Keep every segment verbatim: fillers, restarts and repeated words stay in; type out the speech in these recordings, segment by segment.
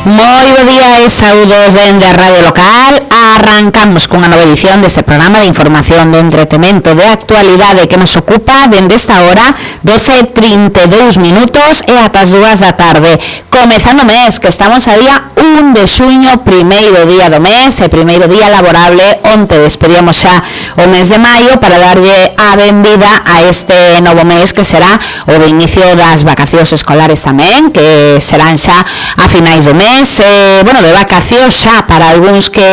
Moi bo día e saúdos dende a Radio Local. Arrancamos cunha nova edición deste programa de información de entretemento de actualidade que nos ocupa dende esta hora doce e trinta e dous minutos e ata as dúas da tarde. Comezando o mes, que estamos a día un de xuño, primeiro día do mes e primeiro día laborable. Onte despedíamos xa o mes de maio para darlle a benvida a este novo mes que será o de inicio das vacacións escolares tamén, que serán xa a finais do mes. Eh, bueno, de vacacións xa para algúns que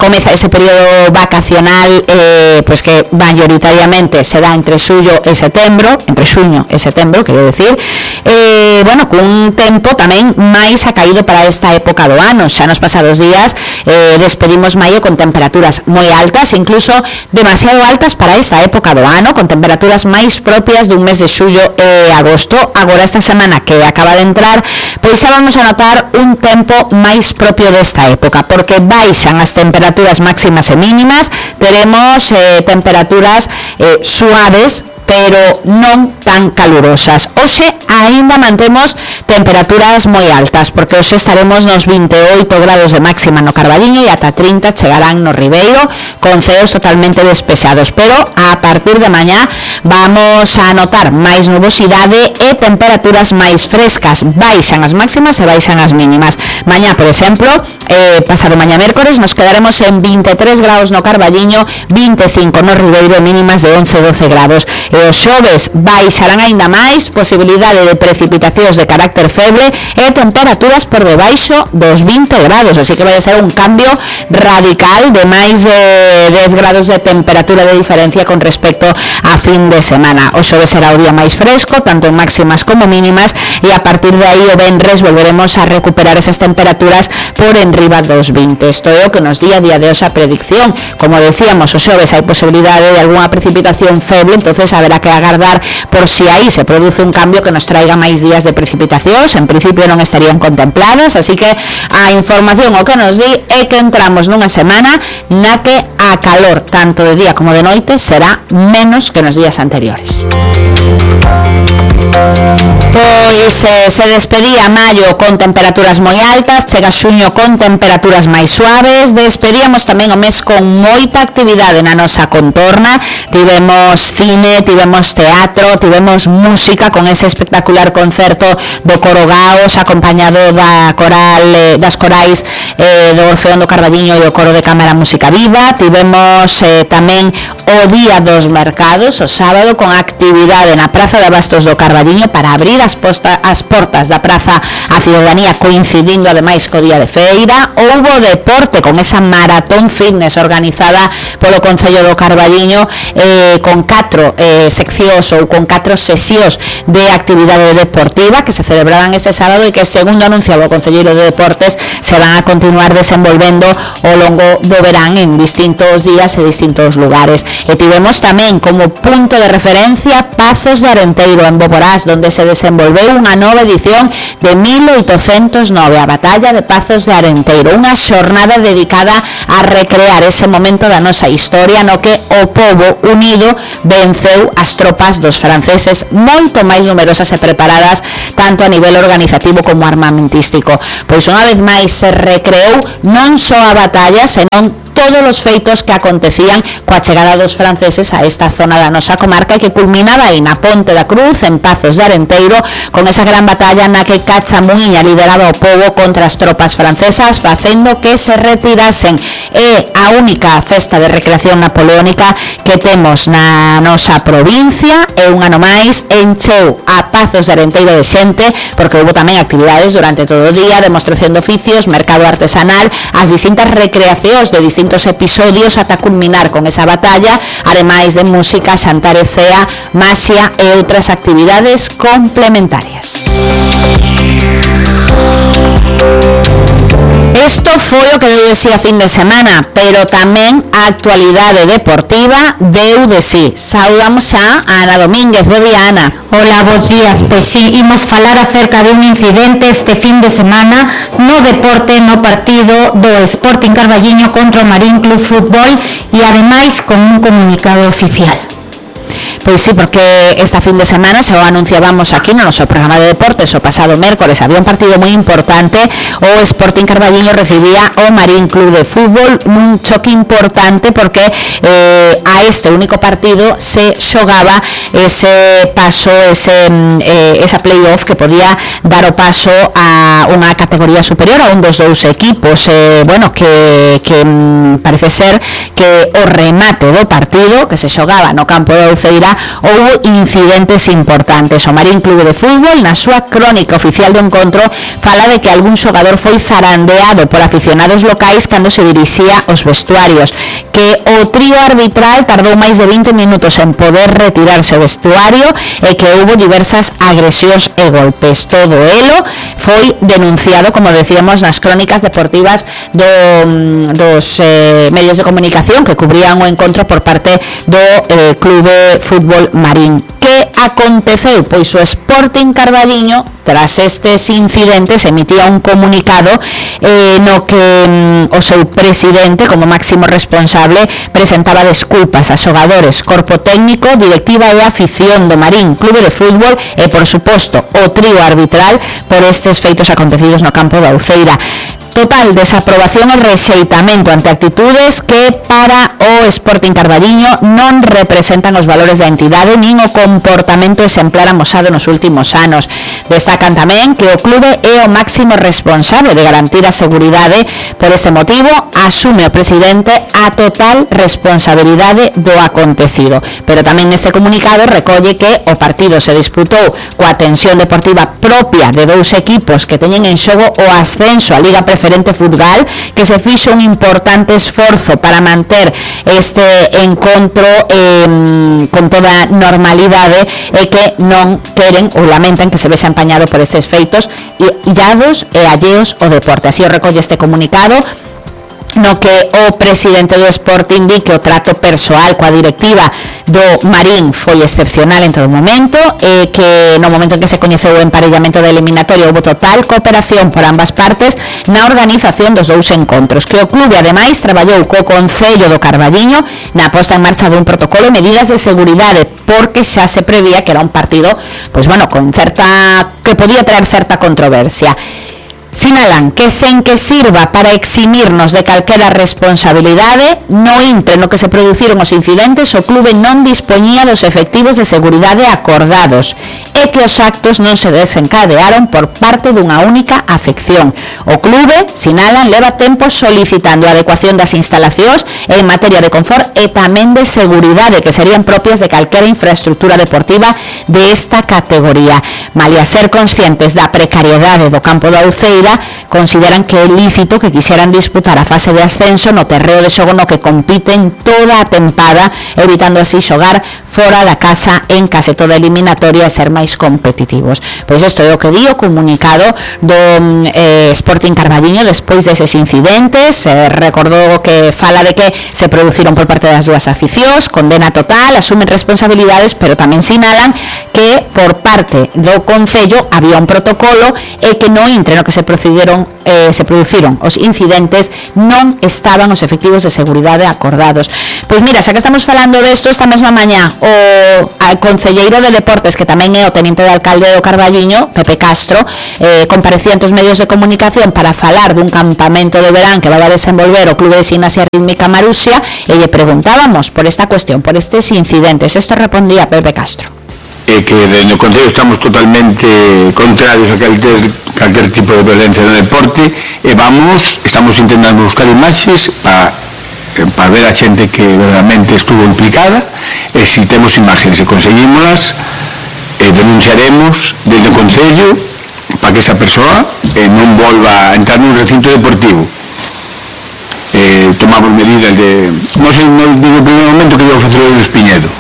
comeza ese período vacacional eh, pues que mayoritariamente se dá entre xullo e setembro, entre xuño e setembro, quero decir, eh, bueno, cun tempo tamén máis acaído para esta época do ano. Xa nos pasados días eh, despedimos maio con temperaturas moi altas, incluso demasiado altas para esta época do ano, con temperaturas máis propias dun mes de xullo e agosto. Agora esta semana que acaba de entrar, pois xa vamos a notar un tempo máis propio desta época, porque baixan as temperaturas máximas e mínimas, teremos eh, temperaturas eh, suaves, pero non tan calurosas. Hoxe aínda mantemos temperaturas moi altas, porque hoxe estaremos nos vinte e oito grados de máxima no Carballiño e ata trinta chegarán no Ribeiro, con ceos totalmente despexados, pero a partir de mañá vamos a notar máis nubosidade e temperaturas máis frescas. Baixan as máximas e baixan as mínimas. Mañá, por exemplo, eh, pasado mañá mércores, nos quedaremos en vinte e tres grados no Carballiño, vinte e cinco no Ribeiro, mínimas de once a doce grados. E os xoves baixarán aínda máis, posibilidade de precipitacións de carácter feble e temperaturas por debaixo dos vinte grados, así que vai a ser un cambio radical de máis de dez grados de temperatura de diferencia con respecto a fin de semana. O xoves será o día máis fresco, tanto en máximas como mínimas, e a partir de aí o venres volveremos a recuperar esas temperaturas por enriba dos vinte. Isto é o que nos di a día de hoxe a predicción. Como decíamos, o xoves hai posibilidade de algunha precipitación feble, entonces haberá que agardar por si aí se produce un cambio que nos traiga máis días de precipitacións. En principio non estarían contempladas, así que a información o que nos di é que entramos nunha semana na que a calor, tanto de día como de noite, será menos que nos días anteriores. Pois eh, se despedía maio con temperaturas moi altas, chega xuño con temperaturas máis suaves. Despedíamos tamén o mes con moita actividade na nosa contorna. Tivemos cine, tivemos teatro, tivemos música con ese espectacular concerto do Coro Gaos, acompañado da coral, eh, das corais eh, do Orfeón do Carballiño e o Coro de Cámara Música Viva. Tivemos eh, tamén o Día dos Mercados, o sábado, con actividade na Praza de Abastos do Carballiño para abrir as, posta, as portas da praza a ciudadanía, coincidindo ademais co día de feira. Houbo deporte con esa maratón fitness organizada polo Concello do Carballiño, eh, con catro eh, seccións ou con catro sesións de actividade deportiva que se celebraban este sábado e que, segundo anunciaba o Concelleiro de Deportes, se van a continuar desenvolvendo ao longo do verán en distintos días e distintos lugares. E tivemos tamén como punto de referencia Pazos de Arenteiro, en Boborás, donde se desenvolveu unha nova edición de mil oitocentos nove, a Batalla de Pazos de Arenteiro, unha xornada dedicada a recrear ese momento da nosa historia no que o pobo unido venceu as tropas dos franceses, moito máis numerosas e preparadas tanto a nivel organizativo como armamentístico. Pois unha vez máis se recreou non só a batalla, senón todos os feitos que acontecían coa chegada dos franceses a esta zona da nosa comarca e que culminaba aí na Ponte da Cruz, en Pazos de Arenteiro, con esa gran batalla na que Cachamuiña lideraba o pobo contra as tropas francesas, facendo que se retirasen. É a única festa de recreación napoleónica que temos na nosa provincia e un ano máis encheu a Pazos de Arenteiro de xente, porque houve tamén actividades durante todo o día, demostración de oficios, mercado artesanal, as distintas recreacións de distintos episodios ata culminar con esa batalla, ademais de música, xantar e cea, maxia e outras actividades complementarias. Isto foi o que deu de si a fin de semana, pero tamén a actualidade deportiva deu de si. Saudamos xa a Ana Domínguez. Bo día, Ana. Hola, bons días. Pois sí, imos falar acerca de un incidente este fin de semana no deporte, no partido do Sporting Carballiño contra o Marín Club Fútbol, e ademais con un comunicado oficial. Pois sí, porque esta fin de semana se o anunciábamos aquí no noso programa de deportes o pasado mércores había un partido moi importante, o Sporting Carballiño recibía o Marín Club de Fútbol nun choque importante porque eh, a este único partido se xogaba ese paso, ese eh, esa playoff que podía dar o paso a unha categoría superior a un dos dous equipos, eh, bueno, que, que parece ser que o remate do partido que se xogaba no campo de Uceira houve incidentes importantes. O Marín Club de Fútbol na súa crónica oficial do encontro fala de que algún xogador foi zarandeado por aficionados locais cando se dirixía aos vestuarios, que o trío arbitral tardou máis de vinte minutos en poder retirarse o vestuario e que houve diversas agresións e golpes. Todo elo foi denunciado, como decíamos, nas crónicas deportivas do, dos eh, medios de comunicación que cubrían o encontro por parte do eh, Clube Fútbol Marín. Que aconteceu? Pois o Sporting Carballiño, tras estes incidentes, emitía un comunicado eh, no que mm, o seu presidente, como máximo responsable, presentaba desculpas a xogadores, corpo técnico, directiva e afición do Marín Clube de Fútbol e, por suposto, o trío arbitral por estes feitos acontecidos no campo da Uceira. Total desaprobación e rexeitamento ante actitudes que para o Sporting Carballiño non representan os valores da entidade nin o comportamento exemplar amosado nos últimos anos. Destacan tamén que o clube é o máximo responsable de garantir a seguridade. Por este motivo, asume o presidente a total responsabilidade do acontecido. Pero tamén neste comunicado recolle que o partido se disputou coa tensión deportiva propia de dous equipos que teñen en xogo o ascenso á Liga Preferente Futgal, que se fixo un importante esforzo para manter este encontro eh, con toda normalidade e que non queren ou lamentan que se vexa empañado por estes feitos illados e alleos ao deporte. Así o recolle este comunicado, no que o presidente do Sporting di que o trato persoal coa directiva do Marín foi excepcional en todo momento e que no momento en que se coñeceu o emparellamento da eliminatoria houve total cooperación por ambas partes na organización dos dous encontros, que o clube ademais traballou co Concello do Carballiño na posta en marcha dun protocolo e medidas de seguridade, porque xa se prevía que era un partido, pois bueno, con certa que podía traer certa controversia. Sinalan que sen que sirva para eximirnos de calquera responsabilidade, no intre no que se produciron os incidentes, o clube non dispoñía dos efectivos de seguridade acordados e que os actos non se desencadearon por parte dunha única afección. O clube, sinalan, leva tempo solicitando a adecuación das instalacións en materia de confort e tamén de seguridade que serían propias de calquera infraestructura deportiva de esta categoría. Malia ser conscientes da precariedade do campo da Uceira, consideran que é lícito que quixeran disputar a fase de ascenso no terreo de xogo no que compiten toda a tempada, evitando así xogar fora da casa en case toda eliminatoria e ser máis competitivos. Pois isto é o que di o comunicado do eh, Sporting Carballiño despois deses incidentes. Eh, recordou que fala de que se produciron por parte das dúas aficións, condena total, asumen responsabilidades, pero tamén sinalan que por parte do Concello había un protocolo e que no intre no que se procederon eh, se produciron os incidentes non estaban os efectivos de seguridade acordados. Pois mira, xa que estamos falando desto, esta mesma mañá o concelleiro de Deportes, que tamén é o teniente de alcalde do Carballiño, Pepe Castro, eh, comparecía ante os medios de comunicación para falar dun campamento de verán que vai a desenvolver o Clube de Gimnasia Rítmica Marusia, e lle preguntábamos por esta cuestión, por estes incidentes. Isto respondía Pepe Castro. E que desde o Concello estamos totalmente contrarios a calquer, calquer tipo de violencia no deporte e vamos, estamos intentando buscar imaxes para, para ver a xente que verdadeiramente estuvo implicada, e se temos imaxes e conseguímolas, eh, denunciaremos desde o Concello para que esa persoa eh, non volva a entrar nun recinto deportivo. Eh, tomamos medidas de, non sei, non digo no primeiro momento que iba a facer o Espiñedo,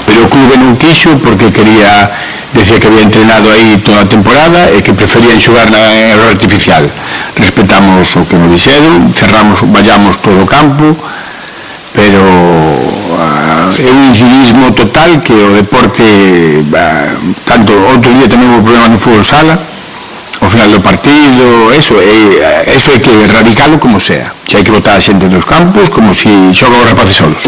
pero o clube non quixo porque quería, decía que había entrenado aí toda a temporada e que preferían xogar na error artificial. Respetamos o que nos dixeron, cerramos, vallamos todo o campo, pero uh, é un incivismo total que o deporte, uh, tanto outro día tamén houve problema no fútbol sala, ao final do partido, eso é, eso é que erradicalo como sea. que hai que botar a xente dos campos como se xogan os rapaces solos.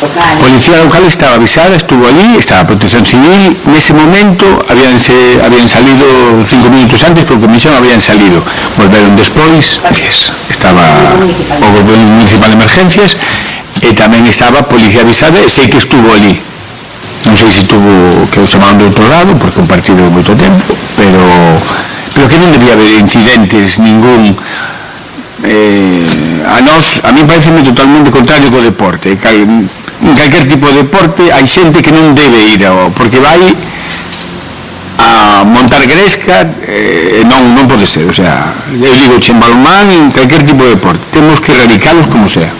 A policía local estaba avisada, estuvo ali, estaba a protección civil, nese momento habían, se, habían salido cinco minutos antes por comisión, habían salido, volveron despois, estaba o Grupo Municipal de Emergencias e tamén estaba a policía avisada e sei que estuvo ali. Non sei se tuvo que o chamaron de outro lado porque un partido de moito tempo, pero pero que non debía haber incidentes ningún. Eh, a nós, a mí parece totalmente contrario co deporte. Cal, en calquer tipo de deporte hai xente que non debe ir ao, porque vai a montar gresca e eh, non, non pode ser, o sea, eu digo en balonmán, en calquer tipo de deporte temos que erradicalos como sea.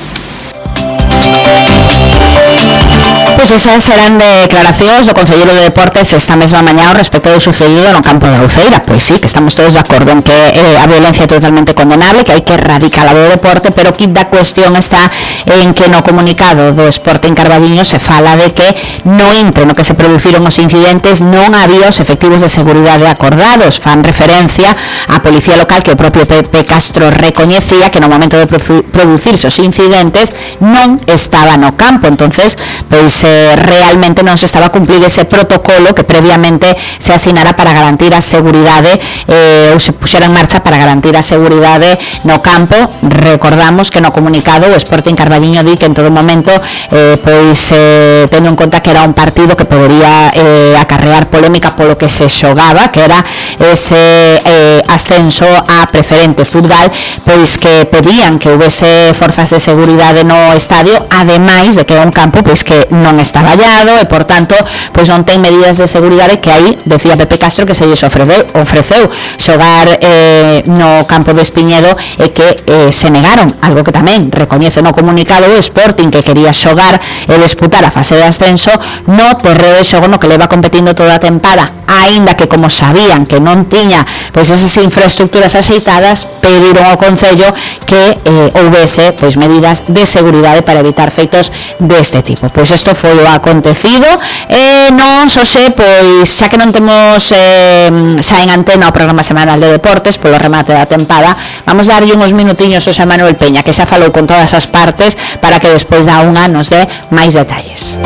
Pois esas serán declaracións do Concelleiro de Deportes esta mesma mañá respecto do sucedido no campo da Uceira. Pois sí, que estamos todos de acordo en que eh, a violencia é totalmente condenable, que hai que erradicala do deporte, pero que da cuestión está en que no comunicado do Sporting Carballiño se fala de que no intre no que se produciron os incidentes non había os efectivos de seguridade acordados. Fan referencia á policía local que o propio Pepe Castro recoñecía que no momento de producirse os incidentes non estaba no campo. Entonces, pois realmente non se estaba a cumplir ese protocolo que previamente se asinara para garantir a seguridade eh, ou se puxera en marcha para garantir a seguridade no campo. Recordamos que no comunicado o Sporting Carballiño di que en todo momento eh, pois eh, tendo en conta que era un partido que podería eh, acarrear polémica polo que se xogaba, que era ese eh, ascenso a preferente fútbol, pois que pedían que houvese forzas de seguridade no estadio, ademais de que é un campo pois que non está vallado e, por tanto, pois non ten medidas de seguridade, que aí, decía Pepe Castro, que se lles ofreceu, ofreceu xogar eh, no campo de Espiñedo e que eh, se negaron, algo que tamén recoñece no comunicado o Sporting, que quería xogar e disputar a fase de ascenso no terreo de xogo no que leva competindo toda a tempada, aínda que como sabían que non tiña pois esas infraestructuras axeitadas, pediron ao Concello que eh, houvese pois medidas de seguridade para evitar feitos deste tipo. Pois isto foi o acontecido e non só se, pois xa que non temos eh, xa en antena o programa semanal de deportes polo remate da tempada, vamos darlle uns minutiños ao Xan Manuel Peña, que xa falou con todas as partes, para que despois da unha nos dé máis detalles.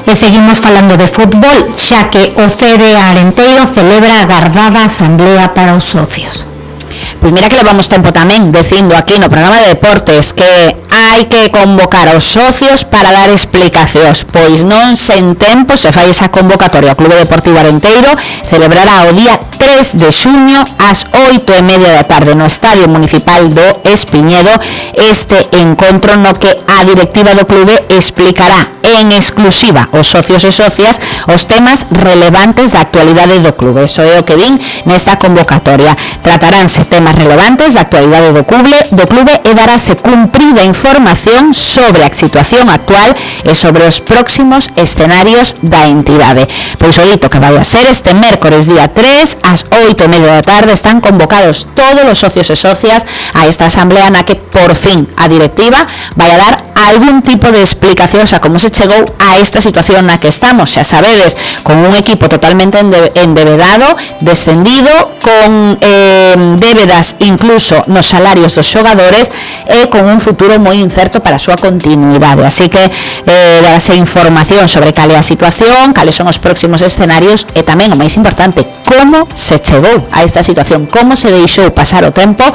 E seguimos falando de fútbol, xa que o C D Arenteiro celebra a agardada asamblea para os socios. Pois mira que levamos tempo tamén dicindo aquí no programa de deportes que hai que convocar aos socios para dar explicacións, pois non sen tempo se fai esa convocatoria. O Clube Deportivo Arenteiro celebrará o día tres de xuño ás oito e media da tarde no Estadio Municipal do Espiñedo este encontro no que a directiva do clube explicará en exclusiva aos socios e socias os temas relevantes da actualidade do clube. Eso é o que din nesta convocatoria. Trataránse temas relevantes da actualidade do clube, do clube e darase cumprida información sobre a situación actual e sobre os próximos escenarios da entidade. Pois o dito que vai a ser este mércores día tres ás oito e media da tarde están convocados todos os socios e socias a esta asamblea na que por fin a directiva vai a dar algún tipo de explicación a como se chegou a esta situación na que estamos. Xa sabedes, con un equipo totalmente endevedado, descendido, con eh, débedas incluso nos salarios dos xogadores e con un futuro moi incerto para a súa continuidade. Así que eh, darase información sobre cal é a situación, cales son os próximos escenarios e tamén, o máis importante, como se chegou a esta situación, como se deixou pasar o tempo